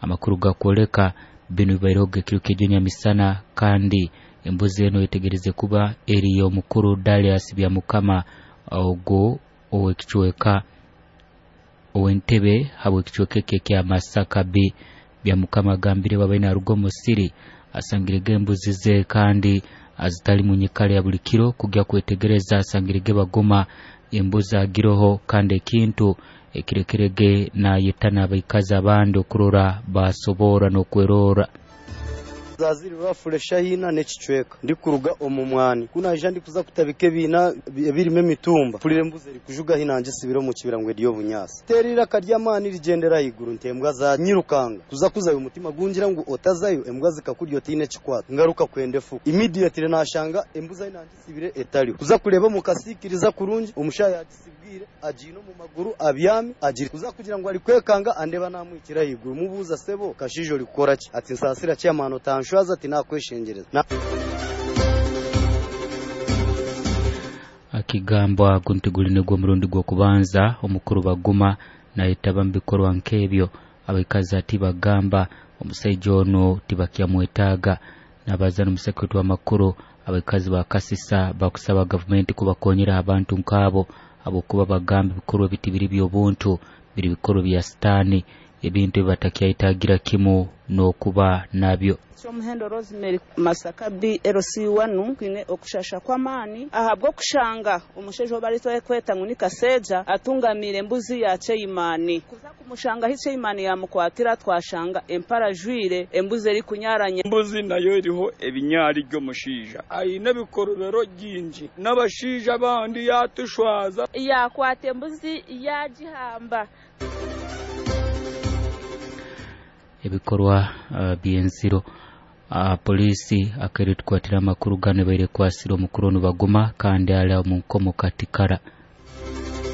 Amakuru gakwoleka binu bibaireho ekiro ky'ejo nyamisana, kandi embuzi eno yetegereze kuba eri y'omukuru Darius Byamukama, ogwo ow'ekicweka ow'entebe habw'ekicweka eki ekya Masaka B. Byamukama agambire bwabaire naruga omu musiri asangirege embuzi ze kandi azitali mu nyikara ya buli kiro. Kugya kwetegereza asangirege bagoma embuzi agiroho, kandi ekintu ekirekerege nayetana abaikazi abandi okurora basobora n'okwerora. Zaziri rwafure shahina n'ekicweka ndikuruga omu mwani kunaija ndikuza kutabika ebiina ebirimu emitumba, mpurira embuzi erikujuga hina ngisibire omu kibira ngu erye obunyaasi, teera iraka ry'amaani rigyendera ahaiguru nti embwa zanyirukanga kuza kuzayo, omutima gungira ngu otazayo embwa zikakurya otiine ekikwata, ngaruka kwenda efuka. Immediately nashanga embuzi ahi nangisibire etariho, kuza kureeba omu kasiikiriza kurungi omushaija yagisibwire agiine omu maguru abyami agiri kuza kugira ngu arikwekanga andeba namwikira ahaiguru, mubuuza sebo kashaija orikukora ki? Ati nsaasira chairman otanshwaza, ati nakweshengereza. Akigambwa ago nti guli nigwo omurundi gw'okubanza omukuru Baguma nayetaba mu bikorwa nk'ebyo. Abaikazi ati bagamba omusaija ono tibakyamwetaaga. Nabaza n'omusekuritu w'amakuru, abaikazi ba Kasisa bakusaba gavumenti kubakonyera abantu nk'abo, habwokuba bagamba ebikorwa ebi tibiri by'obuntu, biri bikorwa bya sitaani, ebintu ebi batakyayetaagira kimu n'okuba nabyo. Kyomuhendo Rosemary, Masaka B LC1, twine okushasha kw'amaani ahabw'okushanga omushaija ou barikweta ngu ni Kaseja atungamiire embuzi ya Chairman. Kuza kumushanga ahi Chairman yamukwatira, twashanga empara ajwire, embuzi erikunyaranya. Embuzi nayo eriho ebinyari by'omushaija aine ebikorobero bingi n'abashaija abandi yatushwaza. Yakwata embuzi yagihamba. Ebikorwa by'enziro. Polisi akaire tukwatira amakuru gano ebaire ekwasire omukuru onu Baguma kandi ali omu nkomo Katikara.